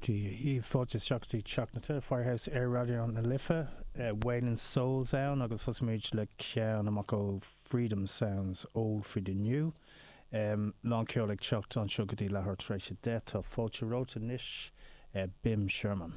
Dia dhaoibh, fáilte isteach go dtí Teach na Tine, Firehouse ar Raidió na Life. Wailing Souls ann agus thosaigh muid le ceann amach ó Freedom Sounds, Old for the New. Lán ceoil ag teacht anseo go dtí leathuair tar éis a 10. Tá fáilte romhat anois, Bim Sherman.